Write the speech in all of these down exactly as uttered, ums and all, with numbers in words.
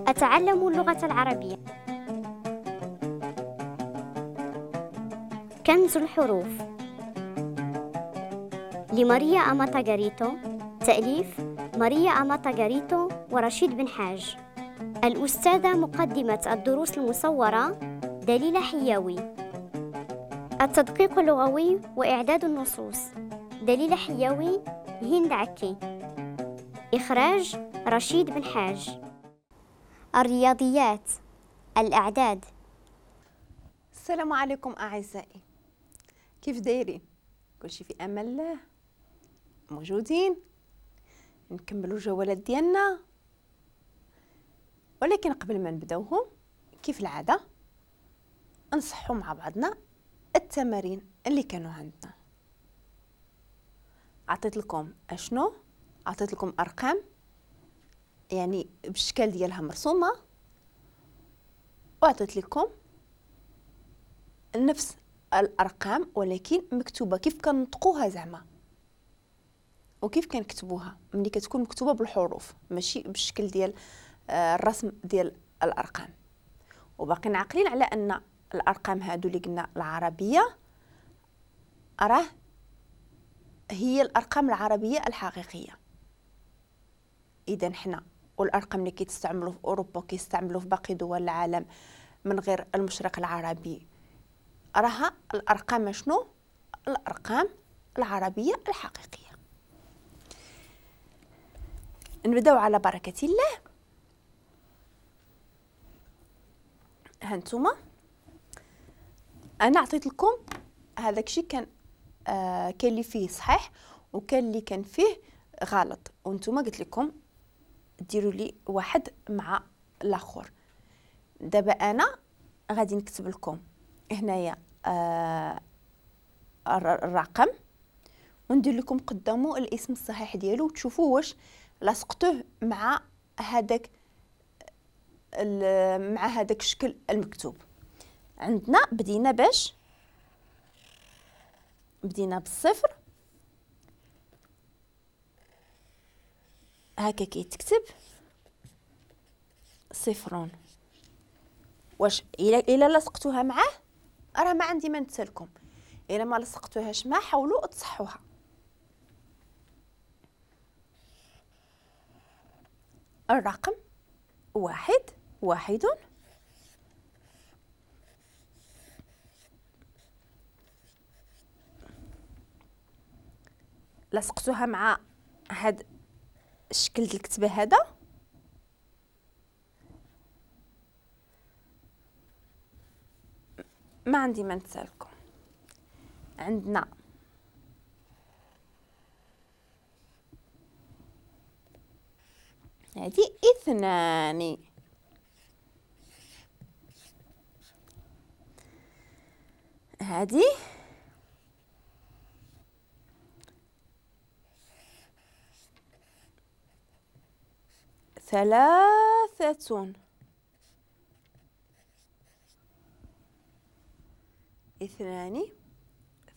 أتعلم اللغة العربية. كنز الحروف لماريا أماتا غاريتو، تأليف ماريا أماتا غاريتو ورشيد بن حاج. الأستاذة مقدمة الدروس المصورة دليلة حياوي. التدقيق اللغوي وإعداد النصوص دليلة حياوي، هند عكي. إخراج رشيد بن حاج. الرياضيات، الأعداد. السلام عليكم أعزائي، كيف دايرين؟ كلشي في أمان الله، موجودين نكملوا الجولات ديالنا. ولكن قبل ما نبداوهم كيف العادة نصحوا مع بعضنا التمارين اللي كانوا عندنا. عطيت لكم اشنو؟ عطيت لكم ارقام يعني بالشكل ديالها مرسومه، وعطيت لكم نفس الارقام ولكن مكتوبة كيف كنطقوها زعما وكيف كنكتبوها ملي كتكون مكتوبة بالحروف ماشي بالشكل ديال الرسم ديال الارقام. وباقيين عاقلين على ان الارقام هادو اللي قلنا العربية راه هي الارقام العربية الحقيقية. اذا حنا والارقام اللي كيتستعملوا في اوروبا وكيستعملوا في باقي دول العالم من غير المشرق العربي راها الارقام شنو؟ الارقام العربية الحقيقية. نبداو على بركة الله. هانتوما انا عطيت لكم هذاك الشيء كان آه كان اللي فيه صحيح وكان اللي كان فيه غلط، وانتوما قلت لكم ديروا لي واحد مع الاخر. دابا انا غادي نكتب لكم هنايا آه الرقم وندير لكم قدامه الاسم الصحيح ديالو وتشوفوا واش لاصقتوه مع هذاك مع هذاك الشكل المكتوب. عندنا بدينا باش بدينا بالصفر هكا كيتكتب صفر. واش الا الا لصقتوها معاه راه ما عندي ما نتسالكم، الا ما لصقتوهاش معاه حاولوا تصحوها. الرقم واحد واحد لصقتوها مع هاد الشكل ديال الكتبة هذا. ما عندي ما نتسالكم. عندنا هذه اثنان، هذه ثلاثة، اثنان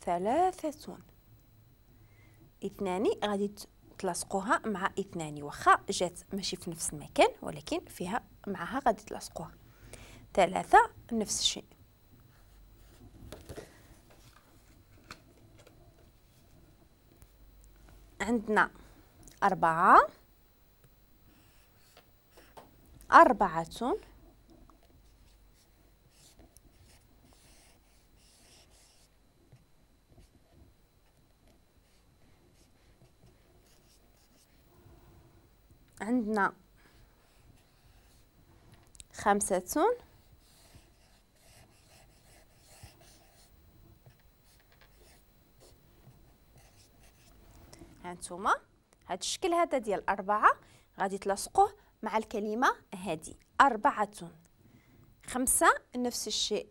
ثلاثة، اثنان غادي تلاصقوها مع اثنان، واخا جات ماشي في نفس المكان ولكن فيها معها غادي تلاصقوها. ثلاثة نفس الشيء. عندنا أربعة، أربعة، عندنا خمسة، هانتوما هاد الشكل هذا ديال أربعة غادي تلاصقوه مع الكلمة هادي أربعة. خمسة نفس الشيء.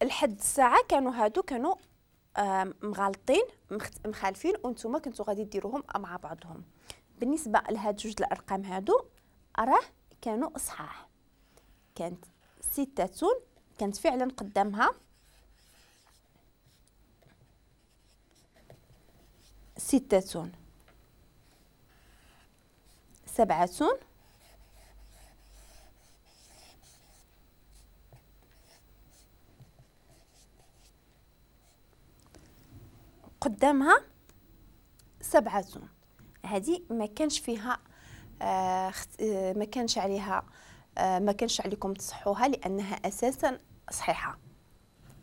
لحد الساعة كانوا هادو كانوا مغالطين مخالفين وانتم كنتو غادي ديروهم مع بعضهم. بالنسبة لهاد جوج الأرقام هادو راه كانوا صحاح، كانت ستة كانت فعلا قدامها ستة، سبعة قدامها سبعة. هذه ما كانش فيها آه ما كانش عليها آه ما كانش عليكم تصحوها لأنها أساسا صحيحة.